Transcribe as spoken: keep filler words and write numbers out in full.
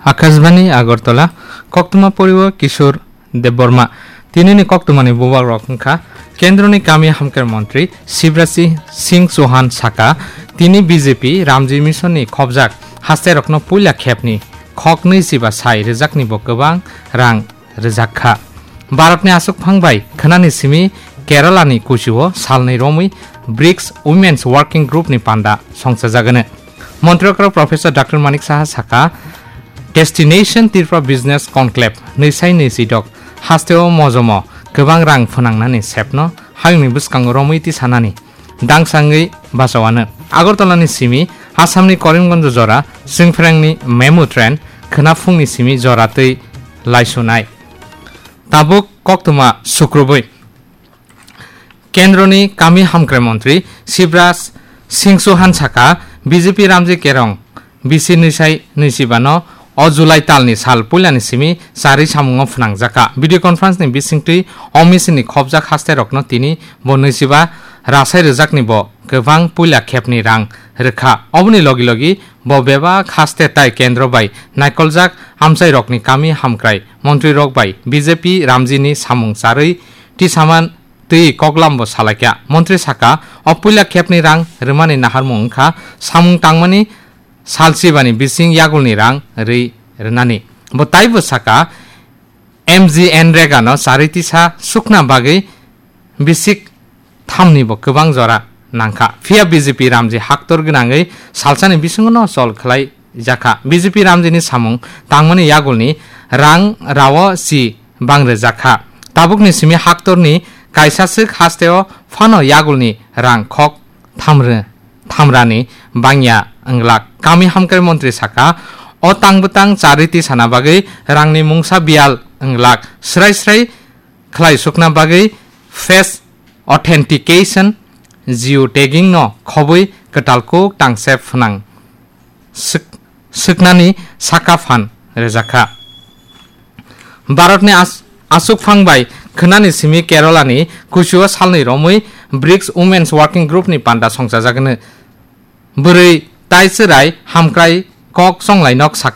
Akashbani Agartala, koktwma poriwo Kishore Debbarma. Tinini koktwmani bubagrok wngkha Kendroni Kami Hamkrai Montri Shivraj Singh Chauhan saka, tini B J P Ramji Mission ni khobjak hasterokno puila khepni khoknwi siba sai rwjakni bo kwbang rang rwjak kha. Bharatni aswkphang bai khwnani simi Kerala ni kuchio salnwi romwi brics Women's Working Group ni panda songchajagwno. Montri okra Professor Doctor Manik Saha saka, Destination Tripura Business Conclave nwi sai nwi sidok hasteo mojomo kwbang rang phwnangnani sepno hayungni bwskango romwi tisanani dangsangwi bachawano. Agartala ni simi Assam ni Karimganj jora swngphrengni memu train khwna phungni simi jora twi laisunai. Tabuk koktwma sukrubwi. Kendroni Kami Hamkrai Montri Shivraj Singh Chauhan saka, B J P Ramji Kerong bisi nwi sai nwi siba no o July talni sal puilani simi charwi samungo phwnangjakha. Video conference ni bisingtwi o mission ni khobjak hasterokno tini bo nwi siba rasai rwjakni bo kwbang puila khepni rang rwkha. Oboni logi logi bo bebak haste tai kendro bai naikoljak amchairokni kami hamkrai montrirok bai B J P Ramji ni samung charwi tisaman twi koklam bo salaikha. Montri saka, o puila khepni rang rwmani naharmung wngkha samung tangmani salsibani bising yagulni rang rwi rwnani. Bo taibo saka, M G N Rega no charwi tisa sukna bagwi bisik thamni bo kwbang jora nangkha. Phiya B J P Ramji haktor gwnangwi salsani bisingo no chol khlai jakha. B J P Ramji ni samung tangmani yagulni rang rao si bang rwjakha. Tabukni simi haktorni kaisa swk hasteo phano yagulni rang khok thamrw-, thamrani bangya wnglak. Kami hamkrai montri saka, o tang bwtang charwi tisana bagwi rangni mungsa biyal wnglak. Srai srai khlai sukna bagwi face authentication, geotagging no khobwi kwtal kuk tangse phwnang swk-, swknani saka phan rwjakha. Bharatni as-, aswkphang bai khwnani simi Kerala ni kuchio salnwi romwi brics Women's Working Group ni panda songchajagwno. Bwrwi tai chwrai hamkrai kok chonglai nok sak